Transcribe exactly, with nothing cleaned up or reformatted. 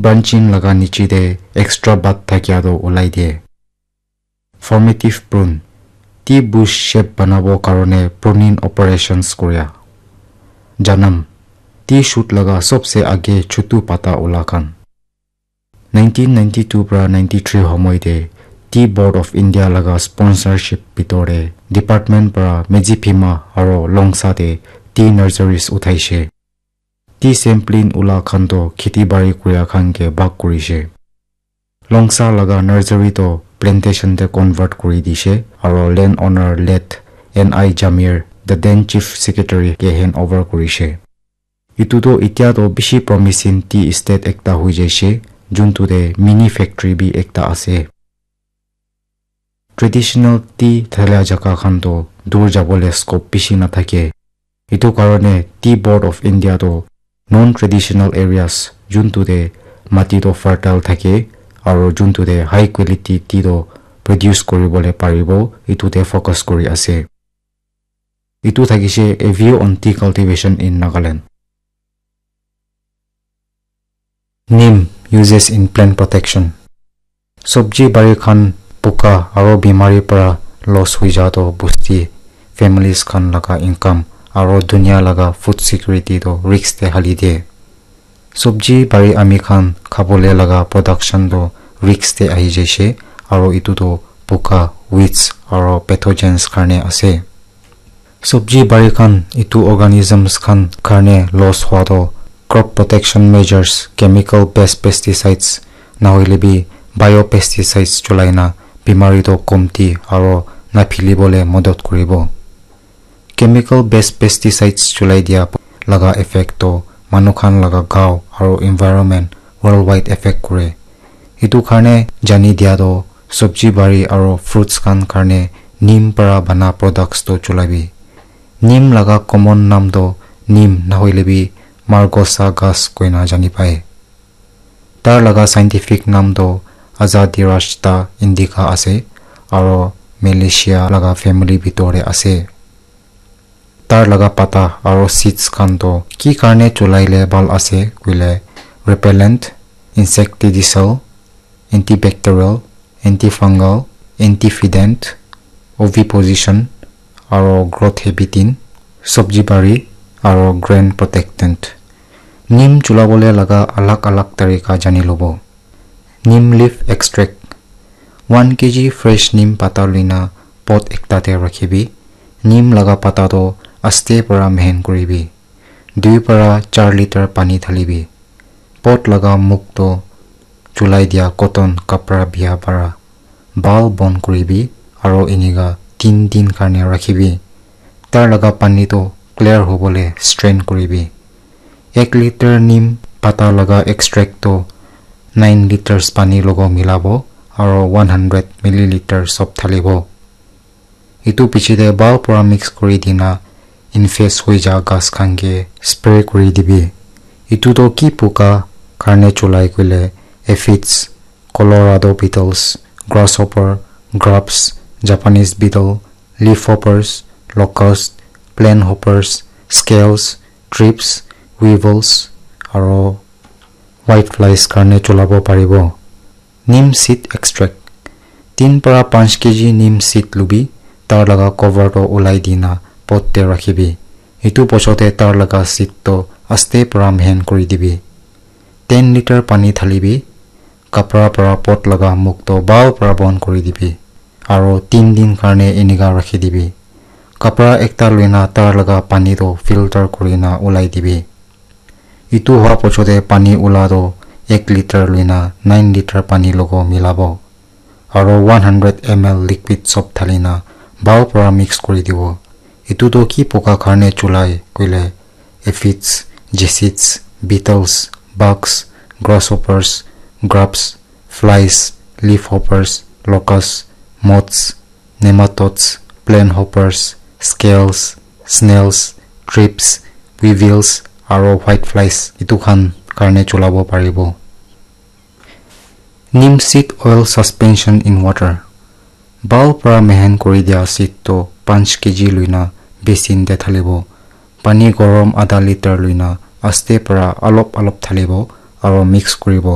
Branching laga niche te extra bud thakia toh ulai diye. Formative prune. Tea bush shape banabo karone pruning operations koria. Janam. Tea shoot laga sobse age chutu pata ula khan. Nineteen ninety-two pra ninety-three homoi te Tea Board of India laga sponsorship bitor te department pra Medziphema aro Longsa te tea nurseries uthaishe. Tea sampling ula khan toh kheti bari kuria khan ke bhag kurishe. Longsa laga nursery toh plantation te convert kuri dishe aro land owner late N I Jamir, the then chief secretary ke hand over kurishe. Etu toh itya toh bishi promising tea estate ekta hoi jaishe, juntu te mini factory bi ekta ase. Traditional tea thalia jaka khan toh dur jabole scope bishi nathake. Etu karone Tea Board of India toh non-traditional areas juntu te mati toh fertile thake aro juntu te high quality tea toh produce kuribole paribo, etu te focus kuri ase. Etu thakishe A View on Tea Cultivation in Nagaland. Neem uses in plant protection. Sobji bari khan puka aro bimari para loss hui ja toh bosti families khan laga income aro dunia laga food security toh risk te hali diye. Sobji bari ami khan khabole laga production toh risk te ahi jaishe aro etu toh puka, weeds aro pathogens karne ase. Sobji bari khan etu organisms khan karne loss hua toh crop protection measures, chemical based pesticides nahoile bi biopesticides chulai na bimari toh komti aro naphilibole modot kuribo. Chemical based pesticides chulai dia laga effect toh manu khan laga gao aro environment worldwide effect kure. Etu karne jani dia toh sobji bari aro fruits khan karne neem para bana products toh chulabi. Neem laga common naam toh neem nahoile bi margosa ghas koina jani pai. Tar laga scientific naam toh Azadirachta indica ase aro Malaceae laga family bitor te ase. Tar laga pata aro seeds khan toh ki karne chulai le bhal ase koile repellent, insecticidal, antibacterial, antifungal, antiofidant, oviposition, aro growth habiting, sobji bari, aro grain protectant. Neem chulabole laga alag alag tarika jani lobo. Neem leaf extract. One K G fresh neem pata luina pot ekta te rakhibi. Neem laga pata toh aste para mehen kuribi. Dui para char liter pani thalibi. Pot laga mukh toh chulai dia cotton kapra bia para bhal bon kuribi aro enika tin din karne rakhibi. Tar laga pani toh clear hobole strain kuribi. Ek liter neem pata laga extract toh nine liters pani logo milabo aro one hundred milliliter sob thalibo. Etu piche te bhal para mix kuri dina infest hoi ja ghas khan ke spray kuri dibi. Etu toh ki puka karne chulai koile aphids, Colorado beetles, grasshopper, grubs, Japanese beetle, leaf hoppers, locust, plant hoppers, scales, thrips, weevils, aro whiteflies karne chulabo paribo. Neem seed extract. Tin para panch K G neem seed lubi, tar laga cover toh ulai dina pot te rakhibi. Etu bochor te tar laga seed toh aste para mehen kuri dibi. Ten liter pani thalibi, kapra para pot laga mukh toh bhal para bon kuri dibi, aro tin din karne enika rakhi dibi. Kapra ekta luina tar laga pani toh filter kurina ulai dibi. Etu hua bochor te pani ula toh ek liter luina nine liter pani logo milabo. Aro one hundred M L liquid sob thalina bhal para mix kuri dibo. Etu toh ki poka karne chulai koile aphids, jesits, beetles, bugs, grasshoppers, grubs, flies, leaf hoppers, locusts, moths, nematodes, plant hoppers, scales, snails, thrips, weevils, aro whiteflies etu khan karne chulabo paribo. Neem seed oil suspension in water. Bhal para mehen kuri dia seed toh panch K G luina basin te thalibo. Pani gorom adha liter luina aste para alop alop thalibo aro mix kuribo.